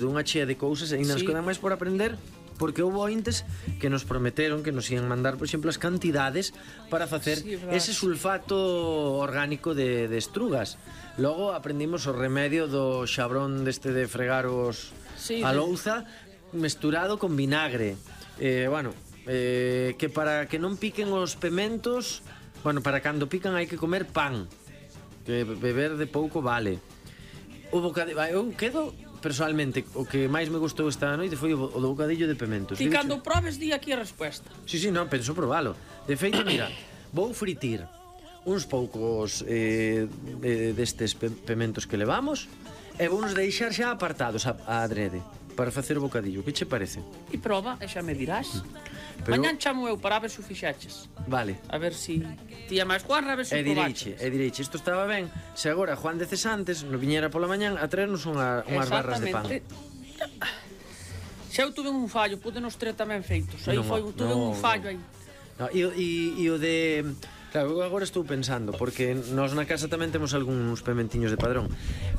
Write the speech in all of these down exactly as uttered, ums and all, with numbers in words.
dunha chea de cousas e ainda nos Sí. quedan máis por aprender, porque houve ointes que nos prometeron que nos ian mandar, por exemplo, as cantidades para facer Sí, verdad. ese sulfato orgánico de, de estrugas. Logo aprendimos o remedio do xabrón deste de fregar os Sí, a de- louza mesturado con vinagre. Eh, bueno, eh, que para que non piquen os pementos, bueno, para cando pican hai que comer pan, que beber de pouco vale. O bocadillo, eu quedo personalmente, o que máis me gustou esta noite foi o, o do bocadillo de pementos. Ti Digo, cando probes di aquí a resposta. Sí, sí, non, penso probalo. De feito, mira, vou fritir uns poucos eh, de, destes pe pementos que levamos e vou nos deixar xa apartados a, a adrede para facer o bocadillo. Que che parece? E proba, e xa me dirás. Pero- Mañán chamo eu para ver se o fixeches. Vale. A ver si ti é máis Juanra, a ver se E o direiche, probaches. e direiche, isto estaba ben. Se agora Juan de Cesantes no viñera pola mañán a traernos unha, unhas barras de pan. Xa eu tuve un fallo, pude nos tres tamén feitos. Aí Non, foi, tuve non, un fallo non. aí. No, e, o- e, e o de... Claro, eu agora estou pensando, porque nós na casa tamén temos algúns pementiños de padrón.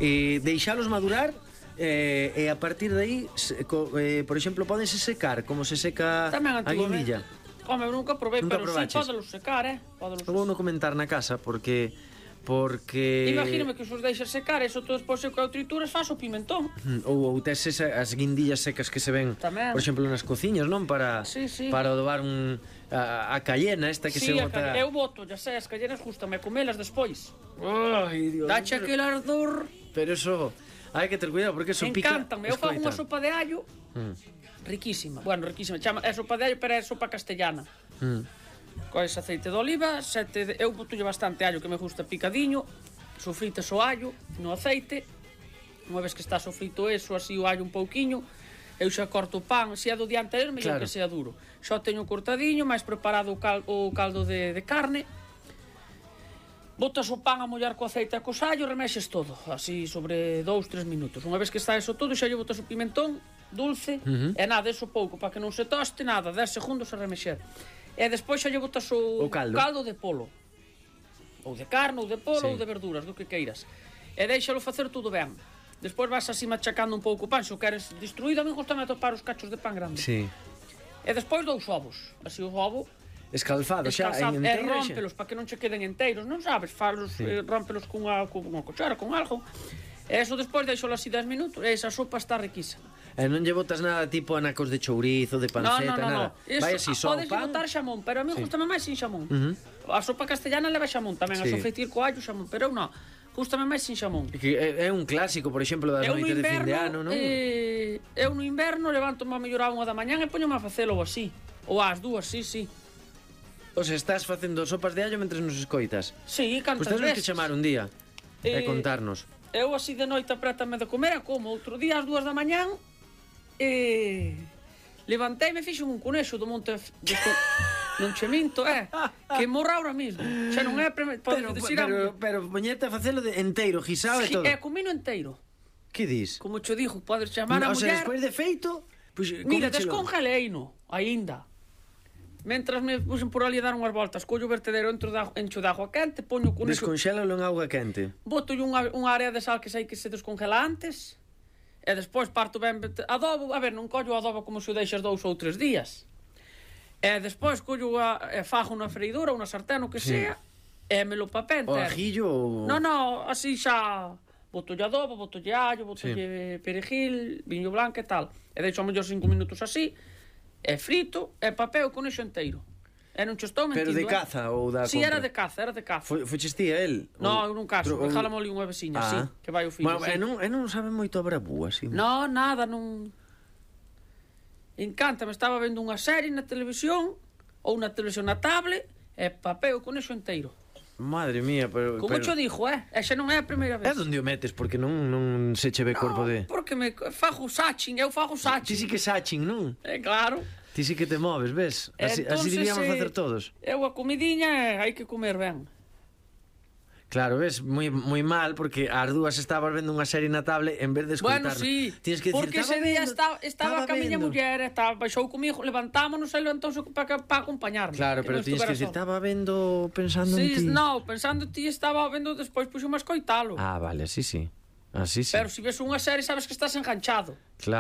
E deixalos madurar eh, e a partir de aí, se, co, eh, por exemplo, pódense secar, como se seca Tamén a guindilla. Home, eu nunca probei, Nunca pero probaches? sí, pódelos secar, eh? Pódelos Eu vou no comentar na casa, porque... Porque... Imagíname que os os deixas secar, eso todo despois que o trituras faz o pimentón. Mm, Ou, ou tes esa, as guindillas secas que se ven, Tamén. por exemplo, nas cociñas, non? Para, Sí, sí. para adobar un, a, a cayena esta que Sí, se a bota... ca- eu boto, ya sei, as callenas gustame comelas despois. Ai, Dios. Dache aquel ardor. Pero eso... Hai que ter cuidado, porque eso pica... Encántame, eu fago unha Escoita. sopa de allo Mm, riquísima. Bueno, riquísima, chama, é sopa de allo, pero é sopa castellana. mm. Coes aceite de oliva, sete de... eu botulle bastante allo que me gusta picadiño, sofritas o allo no aceite. Unha vez que está sofrito eso, así o allo un pouquiño, eu xa corto o pan, se é do día anterior, mellor Claro. que sea duro. Xa o teño cortadiño, máis preparado o, cal, o caldo de, de carne. Botas o pan a mollar co aceite e co sallo, remexes todo, así sobre dous, tres minutos. Unha vez que está eso todo, xa lle botas o pimentón dulce, Ujú. e nada, eso pouco, para que non se toste, nada, dez segundos a remexer. E despois xa lle botas o, O caldo. caldo de polo. Ou de carne, ou de polo, Sí. ou de verduras, do que queiras. E deixalo facer tudo ben. Despois vas así machacando un pouco o pan, se o queres destruído, a mí gustame atopar os cachos de pan grande. Sí. E despois dous ovos, así o ovo Escalfado, xa, descalzado, en e enteiro, xa. rómpelos para que non che queden enteiros, non sabes, falos, Sí. eh, rómpelos cunha, cunha cuchara, con algo. E eso despois deixalo así dez minutos, e esa sopa está riquísima. E non lle botas nada tipo anacos de chourizo, de No, panceta, no, no, nada. no. Eso, Vai así, só o podes pan. botar xamón, pero a mí Sí. gustame máis sin xamón. Ujú. A sopa castellana leva xamón tamén, a Sí. sofreitir co allo xamón, pero eu non. Gustame máis sin xamón. Que é, é un clásico, por exemplo, das Eu no noites de fin de inverno, ano, non? eh, eu no inverno levanto-me a mellorar unha da mañán e poñome a facelo así. Ou ás dúas, sí, sí. O sea, estás facendo sopas de allo mentre nos escoitas. Sí, Pois cantas tens que veces. chamar un día e Eh, contarnos. Eu así de noite aprétame de comer e como outro día ás dúas da mañán e levanteime e fixo un conexo do monte de co... non che minto, é que morra ahora mismo. Xa non é pre... Pero, decir pero, pero poñete a facelo de enteiro, guisado e todo. é comino enteiro. Que dis? Como che dixo, podes chamar a O sea, muller. despois de feito, pois Mira, cómechelo. descongeleino aínda. Mentras me puxen por ali a dar unhas voltas, collo o vertedero entro da, encho de agua quente, poño con eso, Desconxélalo en auga quente. boto unha, unha área de sal que sei que se descongela antes, e despois parto ben adobo, a ver, non collo o adobo como se o deixas dous ou tres días. E despois collo a, e fajo na freidora, unha sartén, o que Sí. sea, e me lo papé O entero. ajillo ou... No, no, así xa botolle adobo, botolle allo, botolle perejil, viño blanco e tal. E deixo a mellor cinco minutos así, e frito, e papeo con iso enteiro. E non che estou Pero mentindo, de eh? caza ou da Si, compra? era de caza, era de caza. Foi, foches ti a el? No, Ou- eu non caso, Tro- ou- dejálamo ali unha veciña, Ah. sí, que vai o fillo, Bueno, sí. e non, e non sabe moito a brabú, así. No, nada, non... Encanta, me estaba vendo unha serie na televisión, ou na televisión na tablet, e papeo con iso enteiro. Madre mía, pero... Como pero... cho dixo, eh? E xa non é a primeira É vez. onde o metes, porque non, non se che ve corpo de... Porque me fago sachin, eu fago Ti sachin. sí que sachin, non? É claro. Ti sí que te moves, ves? Así, así Entonces, deberíamos eh, facer todos. Eu a comidiña hai que comer ben. Claro, ves, moi moi mal, porque ás dúas estabas vendo unha serie na tablet en vez de escoitarnos. Bueno, sí, Tienes que porque decir, ese día estaba estaba, estaba estaba ca miña vendo. muller, estaba, baixou comigo, levantámonos e levantouse para pa acompañarme. Claro, que pero non tienes que estuvera decir, só. estaba vendo pensando en Sí, ti. no, pensando en ti estaba vendo despois puxo máis coitalo. Ah, vale, sí, sí. Así sí. Pero se ves unha serie sabes que estás enganchado. Claro.